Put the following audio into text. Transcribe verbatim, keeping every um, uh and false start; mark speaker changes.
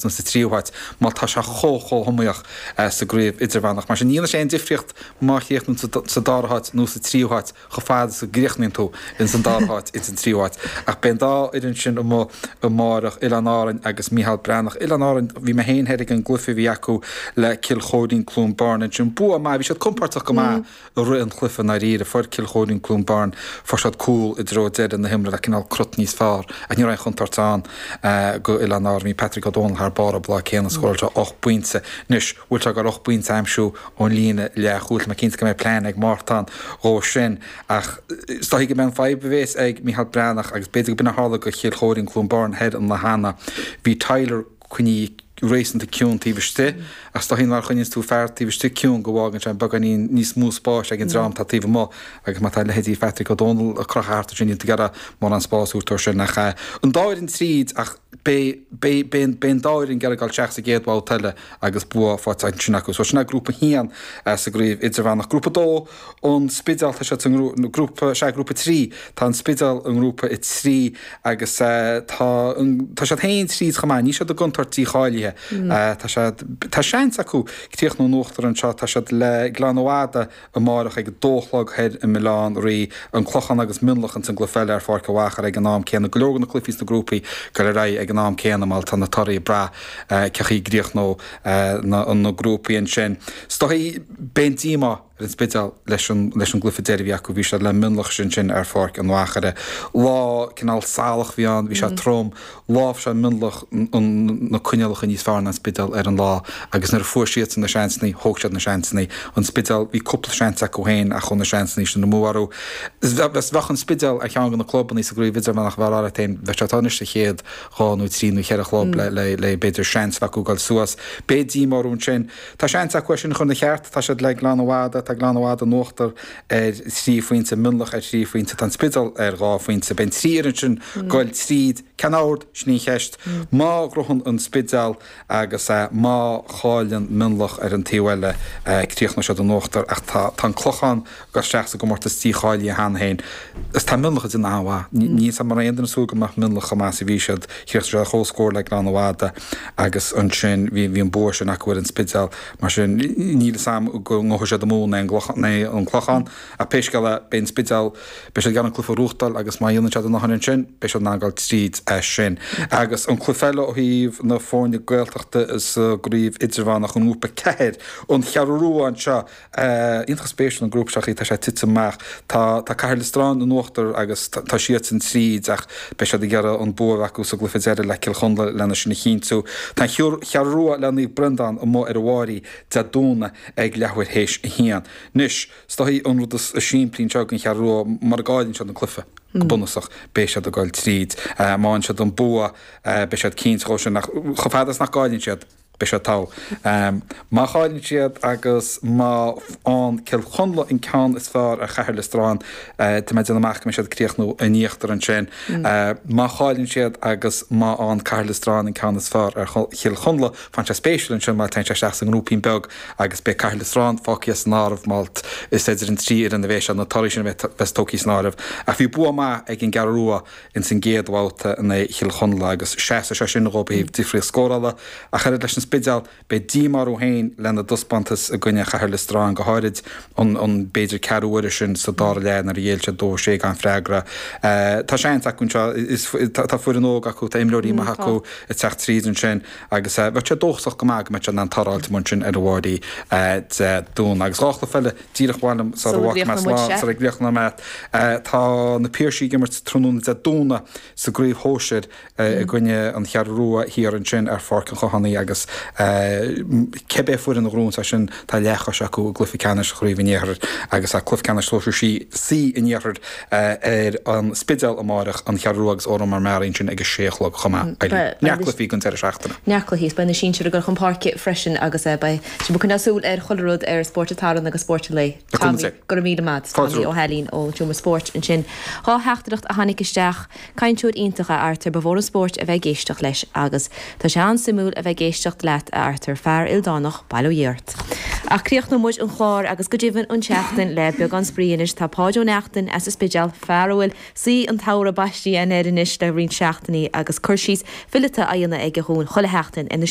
Speaker 1: háit nó sa tríú háit má tá sé chomh chomh hiomaíoch sa gcraobh idirmheánach. Mar sin ní dhéanann sé aon difríocht má chríochnaíonn tú sa dara háit nó sa tríú háit chomh fada is go gcríochnaíonn tú ins an dara háit ins an tríú háit. Ach beidh an dá fhoireann sin amuigh amárach, Oileáin Árainn agus Micheál Breathnach. Oileáin Árainn, bhí mé féin thoir ag an gcluiche a bhí acu le Cill Chóirín Cluain Bheirn ansin. Bua maith, bhí siad compordach go maith i rith an chluiche i ndáiríre. Fuair Cill Chóirín Cluain Bheirn, fuair siad cúl i dtreo deireadh na himeartha le cineál crut níos fearr ach ní raibh aon chontúirt ann go Oileáin Árainn. Bhí Patrick Ó Dónaill thar barr an lá céanna, scóráil sé ocht bpointe. Anois, bhfuil sé ag goil ocht bpointe a aimsiú ón líne leathchúil? Tá mé cinnte go mbeidh plean ag Mártan dhó sin ach is dóichí go mbeidh an fadhb a bhéas ag Micheál Breathnach agus b'fhéidir go b'in a tharla go Chill Chóirín Cluain Bheirn thoir an lá cheana. Bhí Tyler coinnithe réasúnta ciúin taobh istigh ach is dóichí nuair a choinníonns tú fear taobh istigh ciúin go bhfágann sé beagáinín níos mó spáis ag an dream atá taobh amuigh agus má tá leithéidí Phatrick Ó Dónaill ag crochadh thart ansin níl tú ag iarraidh mórán spáis a thabhairt dó sin ach an dá fhoireann tríd ach beidh beidh beidh beidh an dá fhoireann ag iarraidh dul isteach sa gcéad bhabhta eile agus bua faighte ansin acu. So sin é grúpa a haon sa gcraobh idirmheánach. Grúpa a dó, an Spidéal, tá siad sa ngrúpa, sea, grúpa a trí, tá an Spidéal i ngrúpa a trí agus tá tá siad féin tríd chomh maith, níl siad i gcontúirt dícháilithe. Tá siad, tá seans acu críochnú in uachtar anseo, tá siad le Gleann Fhada amárach ag a dó a chlog thoir i mBaile Átha an Rí, an Clochán agus Mionlach ins an gcluiche eile ar Pháirc an Mhachaire ag an am céanna. Go leor de na cluichí sna grúpaí ag dul ar aghaidh ag an am céanna má tá na torthaí ag brath cé chaoi a gcríochnóidh na grúpaí ansin. Is dóichí beidh an díomá ar an Spidéal leis an leis an gcluiche deiridh a bhí acu, bhí siad le Mionlach ansin ar Pháirc an Mhachaire. Lá cineál salach a bhí ann, bhí sé trom. Láimhseáil Mionlach na coinníollacha níos fearr ná an Spidéal ar an lá agus nuair a fuair siadsan na seansanna, thóg siad na seansanna. An Spidéal, bhí cúpla seans acu féin ach chuaigh na seansanna sin amú orthu. Bheadh an Spidéal ar cheann de na clubanna sa gcraobh idirmheánach a bheadh á rá leat féin, bheadh sé anois sa chéad dhá nó trí nó cheithre chlub le le le b'fhéidir seans a bheith acu dul suas. Beidh díomá orthu ansin. Tá seans acu é sin a chur ina cheart. Tá siad le Gleann Fhada, tá Gleann Fhada in uachtar ar thrí phointe, Mionlach ar thrí phointe, tá an Spidéal ar dhá phointe. Beidh an trí fhoireann sin goil tríd. Cén ord? Sin í an cheist. Má ghnóthaíonn an Spidéal agus má chailleann Mionlach ar an taobh eile, críochnóidh siad in uachtar. Ach tá tá an Clochán ag dul isteach sa gcomórtas dícháilithe cheana féin. Is tá Mionlach ag déanamh an-mhaith. Ní an raibh aon duine ag súil go mbeadh Mionlach chomh maith is a bhí siad. Chríochnaigh siad ar comhscór le Gleann Fhada agus ansin bhí bhí an bua sin acu ar an Spidéal. Mar sin níl fhios a'm go ngabhfaidh siad amú in aghaidh an Clochán ach pé scéal é beidh an Spidéal, beidh siad ag iarraidh an cluiche a ghnóthachtáil agus má dhéanann siad a ndóthain ansin beidh siad in ann dul tríd as sin. Agus an cluiche eile ó thaobh na foirne Gaeltachta sa gcraobh idirmheánach i ngrúpa ceathair, an Cheathrú Rua anseo, Iontach spéisiúil an grúpa seo chaoi tá sé tite amach. Tá tá Cathair Loistreáin in uachtar agus tá siadsan tríd ach beidh siad ag iarraidh an bua a bheith acu sa gcluiche deiridh le Cill Chonla lena sin a chinntiú. Tá an Cheathrú Rua le Naomh Breandán amuigh ar an Bháirí Dé Domhnaigh ag leathuair théis a haon. Anois, is dóichí an rud is simplí anseo don Cheathrú Rua mura gcailleann siad an cluiche, go bunúsach, beidh siad ag dul tríd. Má fhaigheann siad an bua, beidh siad cinnte dhó sin ach chomh fada is nach gcailleann siad, beidh siad togha. Má chailleann siad agus má fhaigheann Cill Chonla an ceann is fearr ar Chathair Loistreáin, tá mé ag déanamh amach go mbeidh siad ag críochnú in íochtar ansin. Má chailleann siad agus má fhaigheann Cathair Loistreáin an ceann is fearr ar Chill Chonla, faigheann sé spéisiúil ansin mar téann sé isteach sa ngrúipín beag agus beidh Cathair Loistreáin fágtha as an áireamh má is idir an trí fhoireann a bheidh sé, na torthaí sin a bheas tógtha san áireamh. Ach bhí bua maith ag an gCeathrú Rua ins an gcéad bhabhta in aghaidh Chill Chonla agus seasfaidh sé sin dhóibh ó thaobh difríocht scórála. Ach oiread leis an Spidéal, beidh díomá orthu féin lena dtaispeántas i gcoinne Chathair Loistreáin, go háirid an an b'fhéidir ceathrú uaire sin sa dara leath nuair a ghéill siad dó a sé gan freagra. Tá seans acu anseo, is tá foireann óg acu, tá imreoirí maithe acu ag teacht tríd ansin agus bheadh sé dóchasach go maith go mbeadh siad in ann toradh a fháilt amuigh ansin ar an Bháirí Dé Domhnaigh. Agus dhá chluiche eile díreach mhaith liom sara bhfágfaidh mé slán, sara gcríochnóidh mé. Tá na Piarsaigh ag imirt tráthnóna Dé Domhnaigh sa gcraobh shóisir i gcoinne an Cheathrú Rua thiar ansin ar Pháirc an Chothánaigh agus cibé foireann a ghnóthaíonn é sin tá leathchois acu i gcluiche ceannais Chraobh an Iarthair agus tá cluiche ceannais Sóisir C an Iarthair ar an Spidéal amáireach, an Cheathrú Rua agus Órán Mór Meáraí ansin ag a sé a chlog chomh maith. Neart cluichí don deireadh seachtaine.
Speaker 2: Neart cluichí is beidh na sinsir ag dul chun páirce freisin agus beidh sibh ag coinneáil súil ar chuile rud ar Spórt an tSathairn agus Spórt an Lae. Tommy, go raibh míle maith. Tommy Ó hAilín ón Seomra Spóirt ansin. Dhá theachtaireacht a tháinig isteach. Cainteoir iontach a Arthur, ba mhór an spórt a bheith ag éisteacht leis agus tá sé an-suimiúil a bheith ag éisteacht leat a Arthur, fear ildánach, bail ó Dhia ort. Ach críochnóidh muid an clár agus go deimhin an tseachtain le beagán spraoi anois. Tá Páid Ó Neachtain as an Spidéal, fear a bhfuil saoi an tsamhraidh baistithe air anois le roinnt seachtainí agus cur síos fileata á dhéanamh aige dhúinn chuile sheachtain ar na